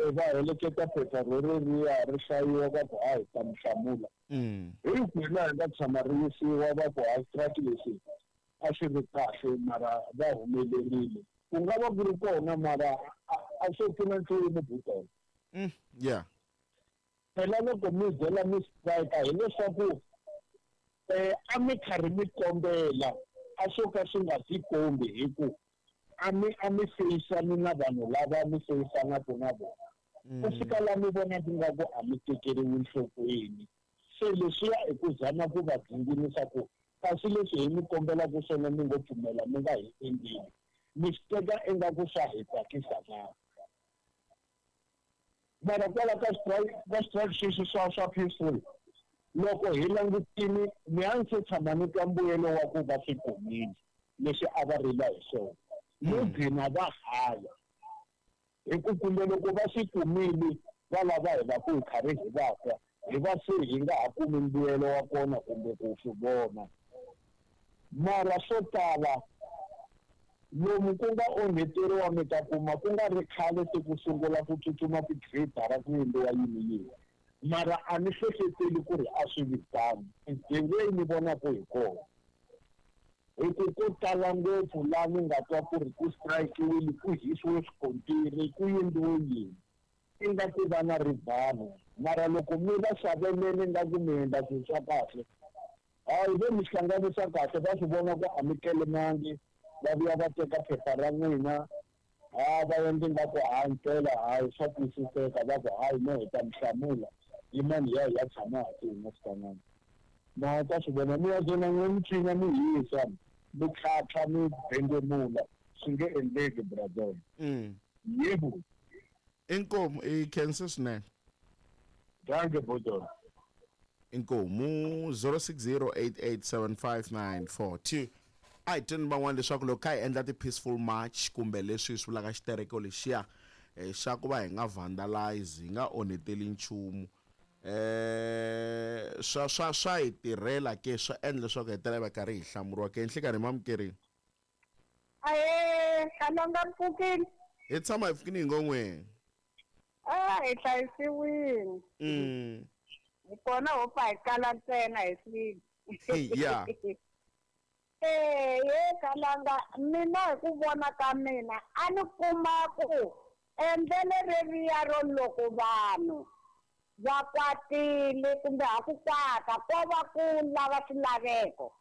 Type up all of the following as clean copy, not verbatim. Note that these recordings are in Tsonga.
Va heleketa phepha roreriya ri hlayiwa va ku a hi ta mi hlamula. Hi ku hi laha hi nga tshama ri yisiwa va ku ha strike lexi a xi ri kahle mara va humelerile. Ku nga va ku ri kona mara a swo pfuna nchumu butola. Yeah. Phela loko mi byela mi strike hileswaku a mi karhi mi kombela a swo ka swi nga tikombi hi ku a mi feyisani na vanhu lava mi feyisanaka na vona. Ku fika la mi vonaka nga ku a mi tekeriwi nhlokweni. Se leswiya i ku zama ku va dzinginisa ku kasi leswi hi mi kombelaka swona mi ngo pfumela mi nga hi endleli. Mi swi teka ingaku swa hi tsakisa na. Mara kwala ka strike sweswi swa peaceful loko hi langutini mi a ni se tshama ni twa mbuyelo wa ku va swi kumile leswi a va rila hi swona. Mo gcina va haya hi ku kumbe loko va swi kumile va lava hi va ku hi karhi hi va twa hi va se hi nga ha kumi mbuyelo wa kona kumbe ku swi vona. Mara swo tala lomu ku nga onheteriwa mi ta kuma ku nga ri khale se ku sungula ku tsutsuma ti-grader ku endliwa yini yini. Mara a ni hlehleteli ku ri a swi vi tano. The way ni vonaka hi kona. Hi ku ko tala ngopfu laha ni nga twa ku ri ku strike-iwile ku hisiwe swikontiri ku endliwe yini. Ingaku va na rivalo mara loko mi va xaveleni nga ku mi endla swilo swa kahle hayi vo mi hlanganisa kahle va swi vona ku a mi kelemangi va vuya va teka phepha ra n'wina ha va endla nga ku hayi mpela hayi swa twisiseka va ku hayi no hi ta mi hlamula yimani hi ya hi ya tshama hansi hi nga switanani ma ta swi vona mi ya zona n'we mi cina mi hisa mi tlhatlha mi bengemula swi nge endleki brother. Yebo. Inkomu, i khensa swinene. Dankie buto. Inkomu. 0608875942. A hi tweni van'wana leswaku loko kha hi endla ti-peaceful march kumbe leswi hi swi vulaka xitereko lexiya xa ku va hi nga vandalize, hi nga onheteli nchumu, swa hi tirhela ke, swa endla leswaku hetelela va karhi hi hlamuriwa ke? Nhlikani mamukerini. Ahee, Kalanga, mpfukile? Hi tshama hi pfukini hi ngon'weni. A hi hlayisiwini. Hi kona ho pfa hi kala ntsena hi swilo. Eh, ye Kalanga, mina hi ku vona ka mina a ni kuma ku endlelo reriya ro loko vanhu va kwatile kumbe ha ku kwata ko va ku lava swilaveko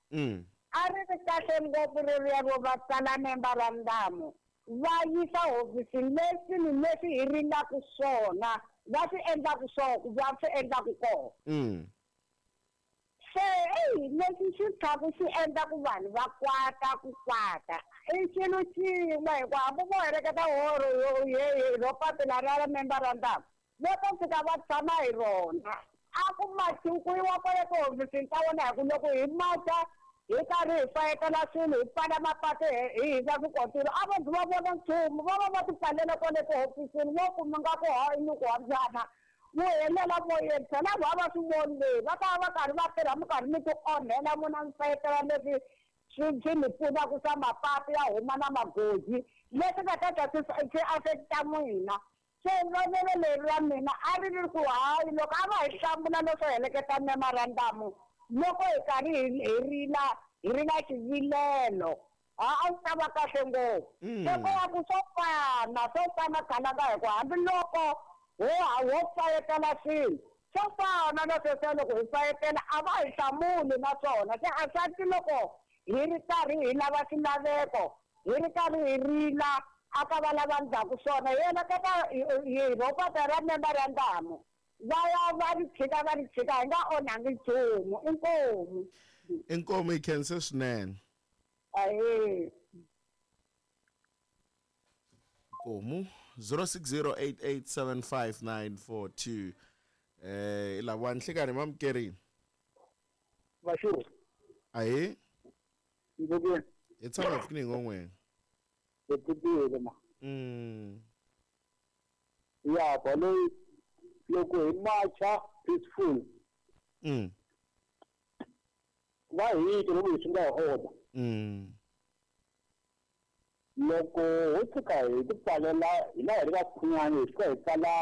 a ri ri kahle ngopfu reriya ro va tsala memorandum va yisa hofisini leswi ni leswi hi rilaka swona va swi endlaku swona va swi endlaku kona. Se eyi leswi swi tlhaku swi endla ku vanhu va kwata ku kwata i xilo xin'we hikuva hambi vo heleketa horo ro papila ra memorandum vo ta fika va tshama hi rona a ku machiwi ku yiwa kwale tihofisini ta vona hi ku loko hi macha hi karhi hi fayetela swilo hi pfala mapatu hi hisa swikontiri a va zi va vona nchumu va va va ti pfalela kwale tihofisini vo kuma nga ku hayi ni ku hambana wu helela moyeni phela va va swi voni leyi va ta va karhi va tirha mi karhi mi ti onhela n'wina mi fayetela leswi swi mi pfunaka swa mapatu ya huma na magoji leswi nga ta ta swi affecta n'wina. Se vonelo leri ra mina a ri ri ku hayi loko a va hi hlamula leswo heleketa memorandum loko hi karhi hi rila hi ri na xivilelo a a swi ta va kahle ngopfu. Se ko va ku swo fana Kalanga hi ku hambiloko ho fayetela swilo swo fana na sweswiya loko hi fayetela a va hi hlamuli naswona se a swa loko hi ri karhi hi lava swilaveko hi ri karhi hi rila a ka va lava ndzhaku swona hi heleketa hi ropata ra memorandum va ya va ri tshika va ri tshika hi nga onhangi nchumu. Inkomu. Inkomu, hi khense swinene. Ahee. Inkomu. 0608875942. Lava nhlikani mamukerini. Vashu. Ahee. Ngokweni. Hi tshama hi pfukini hi ngon'weni. Hi pfukile ma. Ya baloyi loko hi macha peaceful va hiti loko hi swi nga hi order. Loko ho tshuka hi ti pfalela hi laha hi ri vakhunyani hi fika hi pfala.